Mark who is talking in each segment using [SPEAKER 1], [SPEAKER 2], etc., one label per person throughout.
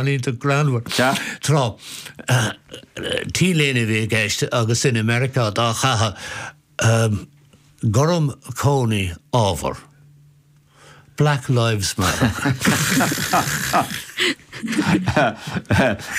[SPEAKER 1] Iontach greannmhar. Tráth, T-léine a bhí i gceist agus duine i Meiriceá dá chaitheamh, gorm cónaí ábhar. Black Lives Matter.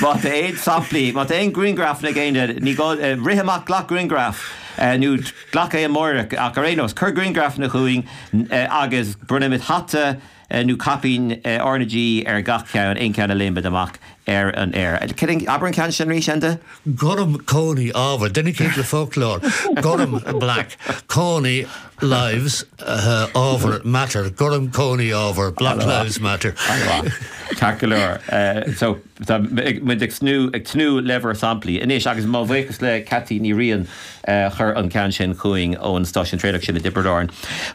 [SPEAKER 2] Má tá aon samplaí, má tá aon grianghrafanna ag éinne, ní gá, rith amach, glac grianghraf nó glac é amárach ach ar aon nós, cuir grianghrafanna chugainn agus bronnfaimid hata nó caipín R na G ar gach ceann, aon cheann a léimid amach ar an aer. Abair an ceann sin arís, Enda?
[SPEAKER 1] Gorm cónaí ábhar, duine eicínt le foclóir, gorm black, cónaí lives, ábhar matter, gorm cónaí ábhar, black lives matter.
[SPEAKER 2] Ceart go leor. So, tá muid ag tnúth, ag tnúth le bhur samplaí. Anois, agus mo bhuíochas le Ceaití Ní Riain a chuir an ceann sin chugainn ón stáisiún traenach sin i dTiobraid Árann.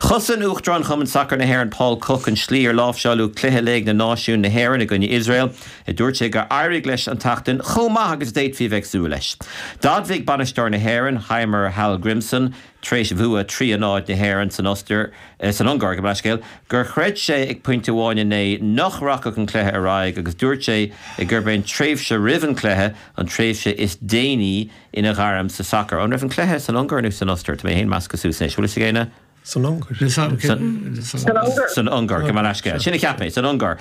[SPEAKER 2] Chosain Uachtarán Chumann Sacair na hÉireann Paul Cooke an slí ar láimhseáladh cluiche Léig na Náisiún na hÉireann i gcoinne Iosrael. Dúirt sé gur éirigh leis an tseachtain chomh maith agus a d'fhéadfaí a bheith ag súil leis. D'admhaigh bainisteoir na hÉireann, Heimir Hallgrímsson, tar éis bhua 3 a 0 na hÉireann san Ostair, san Ungáir, gabh mo leithscéal, gur chreid sé ag pointe amháin inné nach rachadh an cluiche ar aghaidh agus dúirt sé gurb é an tréimhse roimh an chluiche an tréimhse is déine ina ghairm sa sacar. An raibh an cluiche san Ungáir nó san Ostair? Tá mé féin measctha suas anois. Bhfuil fhios ag éinne?
[SPEAKER 3] San Ungáir.
[SPEAKER 2] San Ungáir. San Ungáir, gabh mo leithscéal. Sin a cheap mé, san Ungáir.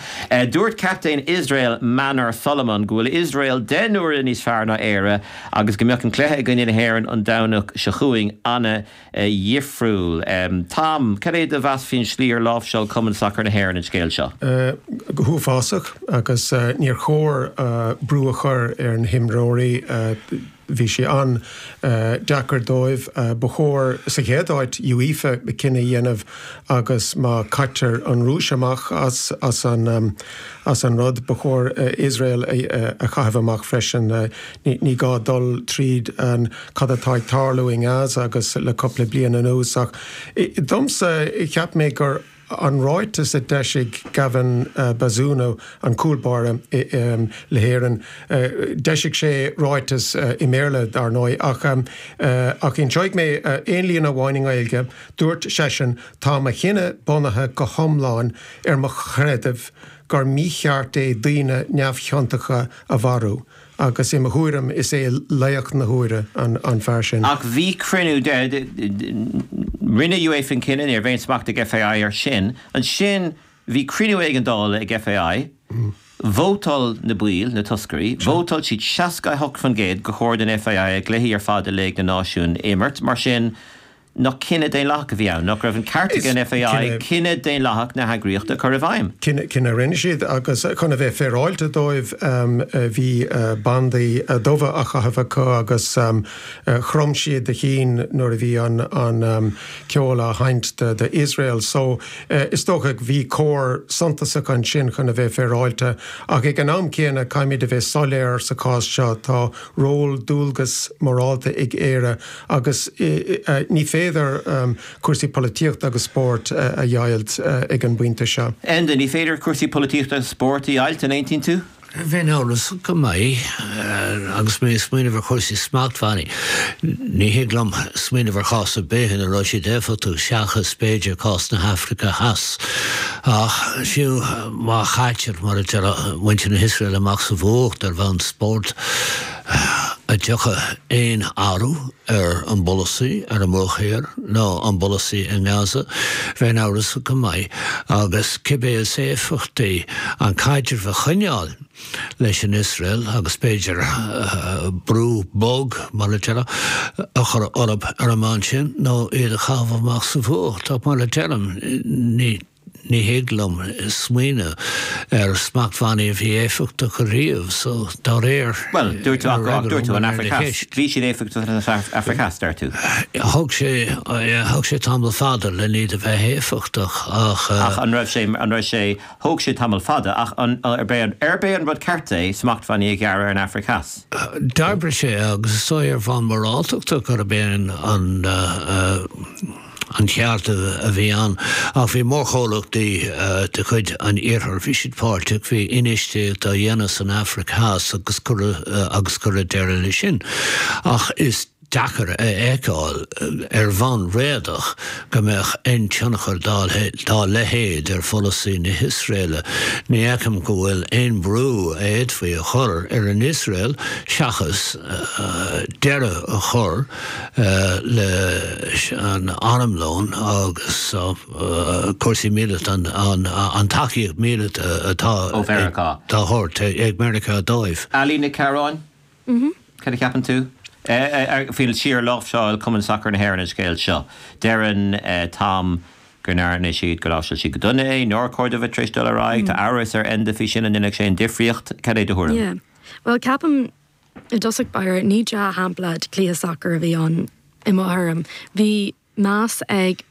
[SPEAKER 2] Dúirt captaen Iosrael Manor Solomon go bhfuil Iosrael 10 n-uaire níos fearr ná Éire agus go mbeadh an cluiche i gcoinne na hÉireann an Domhnach seo chugainn ana-dhifriúil. Tom, cad é do mheas faoin slí ar láimhseáil Cumann Sacair na hÉireann an scéal seo?
[SPEAKER 3] Go huafásach agus níor chóir brú a chur ar na himreoirí. Bhí sé an-deacair dóibh. Ba chóir, sa chéad áit, UEFA cinneadh a dhéanamh agus má caitear an Rúis amach as an as an rud, ba chóir Iosrael a chaitheamh amach freisin. Ní gá dul tríd an cad atá ag tarlú i nGaza agus le cúpla bliain anuas ach domsa, cheap mé gur An ráiteas a d'eisigh Gavin Bazunu, an cúl báire le hÉirinn, d'eisigh sé ráiteas i mBéarla dar ndóigh, ach ach inseoidh mé aon líne amháin i nGaeilge, dúirt seisean, Tá mo chinneadh bunaithe go hiomlán ar mo chreideamh gur mícheart é daoine neamhchiontacha a mharú. Agus i mo thuairim, is é laoch na huaire an fear sin.
[SPEAKER 2] Ach bhí cruinniú de, rinne UEFA an cinneadh, ní raibh aon smacht ag FAI air sin. Ansin bhí cruinniú éigeandála ag FAI, vótáil na baill, na toscairí, vótáil siad 68% gur chóir don FAI a gcluichí ar fad i Léig na Náisiún a imirt. Mar sin, Nach cinneadh daonlathach a bhí ann? Nach raibh an ceart ag an FAI cinneadh daonlathach na heagraíochta a chur i bhfeidhm?
[SPEAKER 3] Cinneadh a rinne siad agus chun a bheith féaráilte dóibh bhí bandaí dubha á chaitheamh acu agus chrom siad a chinn nuair a bhí an ceol á sheinnt do Iosrael. So is dócha bhí cor suntasach ansin chun a bheith féaráilte ach ag an am céanna caithfimid a bheith soiléir sa chás seo tá ról dualgas morálta ag Éire Agus ní féidir cúrsaí polaitíochta agus spóirt a dheighilt ag an bpointe seo.
[SPEAKER 2] Enda, ní féidir cúrsaí polaitíochta agus spóirt a dheighilt, an aontaíonn tú?
[SPEAKER 1] Bheinn amhrasach go maith agus mé ag smaoineamh ar chúrsaí smachtbhannaí. Ní thig liom smaoineamh ar chás ar bith ina raibh siad éifeachtach seachas, b'fhéidir, cás na hAfraice Theas. Ach fiú má chaitear, mar a deir muintir na hIosraeile, amach sa bhfuacht ar bhonn spóirt, An dtiocfaidh aon athrú ar an bpolasaí ar an mBruach Thiar nó an bpolasaí i nGaza? Bheinn amhrasach go maith. Agus cibé is éifeachtaí an caidreamh a choinneáil leis an Iosrael agus b'fhéidir brú bog, mar a déarfá, a chur orthu ar an mbonn sin nó iad a chaitheamh amach sa bhfuacht. Ach mar a deirim, ní. Ní thig liom smaoineamh ar smachtbhannaí a bhí éifeachtach ariamh, so dá réir,
[SPEAKER 2] Bhuel, dúirt tú ach, ach dúirt tú an Afraic Theas. Bhí siad éifeachtach san Afraic Theas, deir tú.
[SPEAKER 1] Thóg sé, thóg sé tamall fada len iad a bheith éifeachtach ach.
[SPEAKER 2] Ach an raibh sé, an raibh sé, thóg sé tamall fada ach an, arb é an, arb é an rud ceart é smachtbhannaí a ghearradh ar an Afraic Theas?
[SPEAKER 1] D'oibrigh sé agus is dóigh ar bhonn moráltachta gurb é an, an, an ceart a bhí ann. Ach bhí mórchomhlachtaí de chuid an Iarthair, bhí siad páirteach, bhí infheistíocht á dhéanamh san Afraic Theas agus cuireadh agus cuireadh deireadh leis sin. Ach is. deacair a fheiceáil ar bhonn réadach go mbeadh aon tionchar dá leithéid ar pholasaí na hIosraeile. Ní fheicim go bhfuil aon brú a fhéadfaí a chur ar an Iosrael seachas deireadh a chur leis an armlón agus cúrsaí míleata, an tacaíocht mhíleata atá
[SPEAKER 2] ó Mheiriceá.
[SPEAKER 1] á thabhairt ag Meiriceá dóibh.
[SPEAKER 2] Ali Nic Cearáin, Cad a cheapann tú? Faoin síor-láimhseáil Cumann Sacair na hÉireann an scéal seo. Deireann Tom go ndearna siad, gur láimhseáil siad go dona é, nár chóir dóibh bheith tar éis dul ar aghaidh. Tá amhras ar Enda faoi sin, an ndéanfadh sé aon difríocht? Cad é do thuairim?
[SPEAKER 4] Yeah. Bhuel, ceapaim i dtosach báire, ní dea-shampla de chluiche sacair a bhí ann i mo thuairim. Bhí meas ag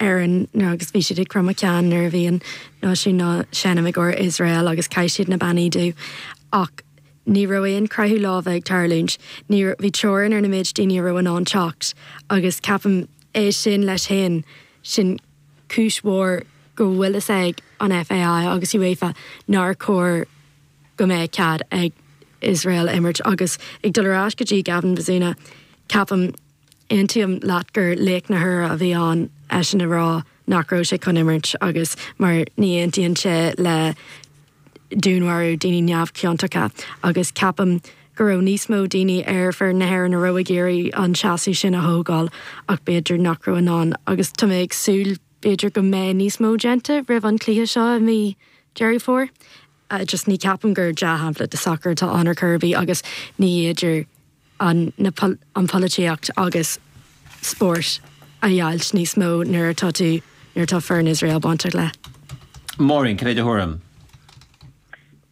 [SPEAKER 4] Éirinn agus bhí siad ag cromadh ceann nuair a bhí an náisiún á seinm i gcomhair Iosrael agus chaith siad na bannaí dubha ach ní raibh aon croitheadh láimhe ag tarlúint. Ní raibh, bhí teorainn ar na méid daoine a raibh in ann teacht agus ceapaim é sin leis féin, sin cúis mhór go bhfuil fhios ag an FAI agus UEFA nár chóir go mbeadh cead ag Iosrael imirt agus ag dul ar ais go dtí Gavin Bazunu, ceapaim Aontaím leat gur laoch na huaire a bhí ann eisean a rá nach raibh sé chun imirt agus mar ní aontaíonn sé le dúnmharú daoine neamhchiontacha agus ceapaim go raibh níos mó daoine ar foireann na hÉireann a raibh ag iarraidh an seasamh sin a thógáil ach b'fhéidir nach raibh in ann agus tá mé ag súil b'fhéidir go mbeidh níos mó déanta roimh an chluiche seo i mí Deireadh Fómhair. Just ní ceapaim gur dea-shampla de sacar atá ann ar chor ar bith agus ní fhéidir an na an pholaitíocht agus spórt a dheighilt níos mó nuair atá tú nuair atá foireann Iosrael bainteach le.
[SPEAKER 2] Máirín, cad é do thuairim?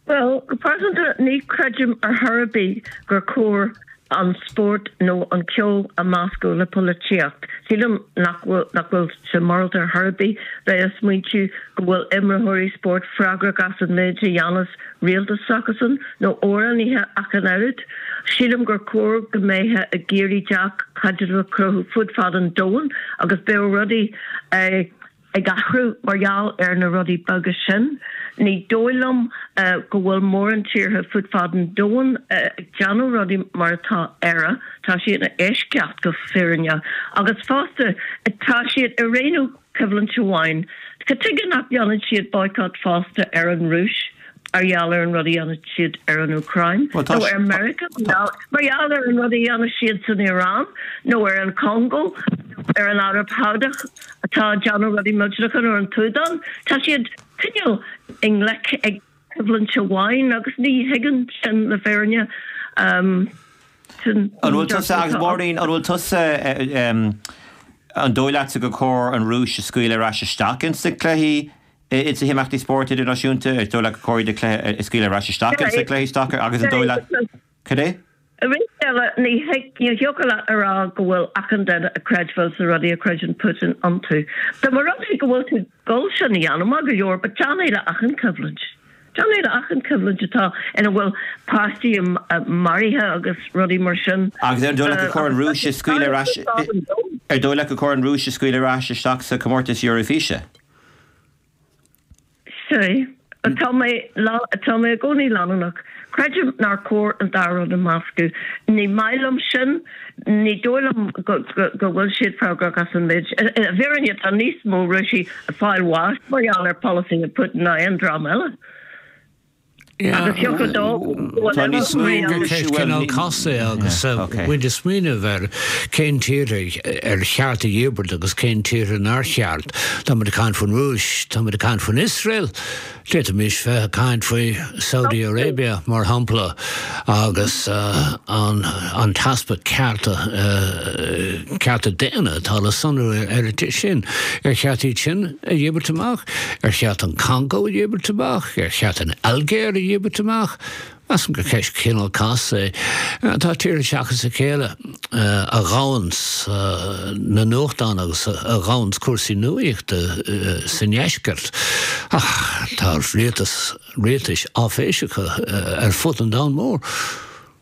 [SPEAKER 5] Bhuel, go pearsanta, ní chreidim ar chor ar bith gur chóir an spórt nó an ceol a mheascadh le polaitíocht. Sílim nach bhfuil nach bhfuil sé morálta ar chor ar bith bheith ag smaointiú go bhfuil imreoirí spóirt freagrach as an méid a dhéanas rialtas s'acusan, nó amhránaithe ach an oiread. Sílim gur chóir go mbeifeá ag iarraidh dea-chaidreamh a chruthú fud fad an domhain agus bheadh rudaí ag athrú mar gheall ar na rudaí beaga sin. Ní dóigh liom go bhfuil mórán tíortha fud fad an domhain ag déanamh rudaí mar atá Éire. Tá sí ina eisceacht go fírinneach. Agus fosta, tá siad ag roghnú coimhlint amháin. Cad tuige nach ndéanann siad boycott fosta ar an Rúis mar gheall ar an rud a dhéanann siad ar an Úcráin? Nó ar Meiriceá mar gheall ar an rud a dhéanann siad san Iaráin? Nó ar an Chongó? Nó ar an Araib Shádach atá ag déanamh rudaí millteanacha? Nó ar an tSúdáin? Tá siad cineál i ngleic ag coimhlint amháin agus ní thuigim sin le fírinne.
[SPEAKER 2] An bhfuil tusa, agus Máirín, an bhfuil tusa, an dóigh leatsa gur chóir an Rúis a scaoileadh ar ais isteach ins na cluichí, ins na himeachtaí spóirt idirnáisiúnta? Is dóigh leat gur chóir iad a scaoileadh ar ais isteach ins na cluichí sacair agus an dóigh leat, cad é?
[SPEAKER 5] Arís eile, ní thiocfadh leat a rá go bhfuil achan duine ag creidbheáil sna rudaí a chreideann Putin iontu. Dá mba rud é go bhfuil tú ag dul sin a dhéanamh, maith go leor, but déan é le achan choimhlint. Déan é le achan choimhlint atá ina bhfuil páistí maraithe agus rudaí mar sin.
[SPEAKER 2] Agus ar dóigh leat gur chóir an Rúis a scaoileadh ar ais, ar dóigh leat gur chóir an Rúis a scaoileadh ar ais isteach sa chomórtas Eoraifíse?
[SPEAKER 5] Sea. Tá mé, tá mé i gcónaí leanúnach. Creidim nár chóir an dá rud a mheascadh. Ní maith liom sin. Ní dóigh liom go bhfuil siad freagrach as an méid. I bhfírinne, tá níos mó Rúisigh ag fáil bháis mar gheall ar pholasaithe Putin ná aon dream eile. Agus thiocfadh dó go bhfuil
[SPEAKER 1] Tá níos mó Rúisigh, bhuel, cineál casta é agus muid ag smaoineamh ar cén tíortha ar cheart a dhíbirt agus cén tíortha nár cheart. Tá muid ag caint faoin Rúis, tá muid ag caint faoin Iosrael, d'fhéadfaimis bheith ag caint faoi Saudi Arabia, mar shampla, agus an t-easpa cearta, cearta daonna atá le sonrú ar an tír sin. Ar cheart iad sin a dhíbirt amach? Ar cheart an Congó a dhíbirt amach? Ar cheart an Ailgéir a dhíbirt amach? Measaim gur ceist cineál casta é. Tá tíortha seachas a chéile a ghabhanns na nuachtáin agus a ghabhanns cúrsaí nuaíochta sa ndeisceart. Ach tá rialtas, rialtais áiféiseacha ar fud an domhain mhóir.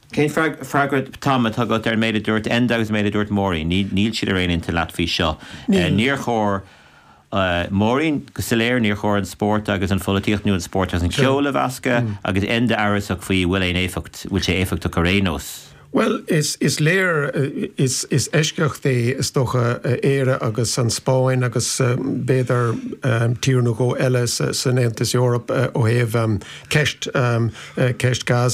[SPEAKER 2] Cén freagra, Tom, atá agat ar an méid a dúirt Enda agus an méid a dúirt Máirín? Níl siad ar aon intinn leat faoi seo. Níor chóir. Máirín, go soiléir, níor chóir an spórt agus an pholaitíocht nó an spórt agus an ceol a mheascadh, agus Enda amhrasach faoi bhfuil aon éifeacht, bhfuil sé éifeachtach ar aon nós.
[SPEAKER 3] Bhuel, is léir, is eisceacht é is dócha Éire agus an Spáinn agus b'fhéidir tír nó dhó eile san Aontas Eorpach ó thaobh ceist, ceist Gaza.